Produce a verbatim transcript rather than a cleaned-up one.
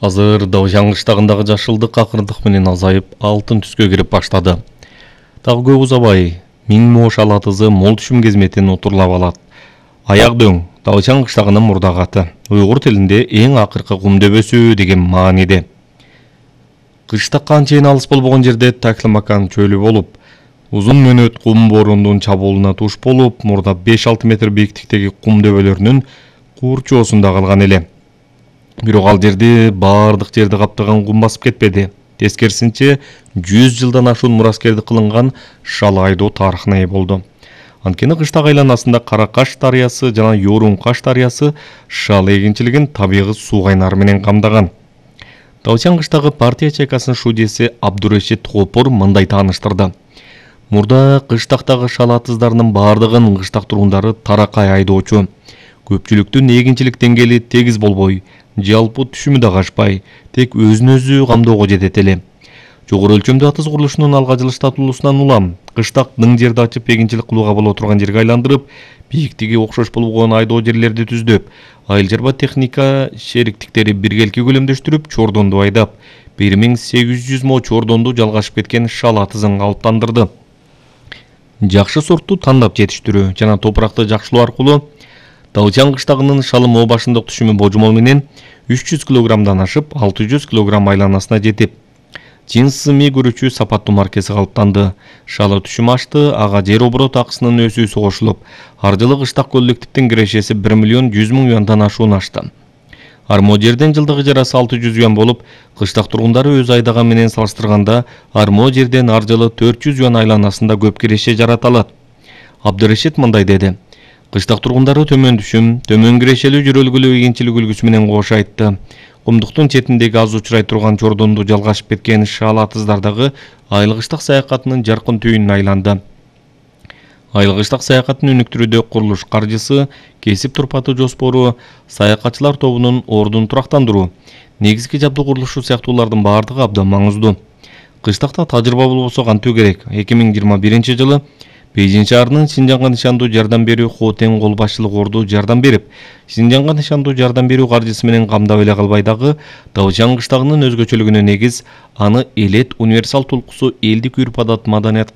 Азыр Даушан кыштагындагы жашылдык акырындык менен азайып, алтын түскө кирип баштады. Дагы көп узабай, миң мо шалатызы мол түшүм кезметин утурлап алат. Аяк дөң Даушан кыштагынын мурдагы аты. Уйгур тилинде эң акыркы кум дөбөсү деген мааниде. Кыштак канчайын алыс болбогон жерде Таклимакан чөлү болуп, узун мөнөт кум бороондун чабуулуна туш болуп, мурда беш-алты метр бийиктиктеги кум дөбөлөрүнүн курчоосунда калган эле. Бирок ал жерди баардык жерди каптаган кум басып кетпеди. Тескерисинче, жүз жылдан ашуун мураскерди кылынган шал айдоо тарыхына ээ болду. Анткени кыштак айланасында Каракаш дарыясы жана Yorun-Каш дарыясы шал эгинчилигин табигый суу кайнары менен камдаган. Даушан кыштагы партия чайкасынын шудияси Абдурешит Хопор мындай тааныштырды. Мурда кыштактагы шал атыздарынын баардыгын кыштак тургундары таракай айдоочу. Көпчүлүктүн эгинчилик деңгээли тегиз болбой, жалпы түшүмү да ашпай, тек өзүн өзү камдоого жетет эле. Жогору өлчөмдүү атыз курулушунун алга жылыштатуулусунан улам кыштак ның жерди ачып эгинчилик кылууга боло турган жерге айландырып, бийиктиги окшош болгон айдоо жерлерди түздөп, айыл жарба техника шериктиктери биргелки көлөмдөштүрүп, чордонду айдап, бир миң сегиз жүз мо чордонду жалгашып кеткен шал атызын калыптандырды. Жакшы сортту тандап жетиштирүү жана топуракты жакшылоо аркылуу Даушан кыштагынын шалы мо башындык түшүмү божомол менен үч жүз килограммдан ашып, алты жүз килограмм айланасына жетип, Жинсы ми көрүүчү сапаттуу маркеси калыптанды. Шалы түшүм ашты, ага жер оборот акысынын өсүүсү кошулуп, ар жылы кыштак коллективдин кирешеси бир миллион жүз миң юандан ашуун ашты. Армо жерден жылдык ижарасы алты жүз юан болуп, кыштак тургундары өз айдаган менен салыштырганда Армо жерден ар жылы төрт жүз юан айланасында көп киреше жарата алат. Абдырешит мындай деди. Кыштак тургундары төмөн түшүм, төмөн кирешелүү жүрөлгүлүү эгинчилик үлгүсү менен кошо айтты. Кумдуктун четиндеги аз учурай турган чордонду жалгашып кеткен шал атыздардагы айыл кыштак саякатынын жаркын түйүнүнө айланды. Айыл кыштак саякатын өнүктүрүүдө курулуш каржысы, кесип турпаты жоспору, саякатчылар тобунун ордун турактандыруу, негизги жабдуу курулушу сыяктуулардын баардыгы абдан маңыздуу. Кыштакта тажрыйба болбосо кантуу керек? эки миң жыйырма биринчи жылы Бейжин шаарынын Синжанга нышандуу жардам берүү Хотен кол башчылык орду жардам берип, Синжанга нышандуу жардам берүү каржысы менен камдап эле калбай дагы Даушан кыштагынын өзгөчөлүгүнө негиз аны элет универсал тулкусу элдик үрп-адат, маданият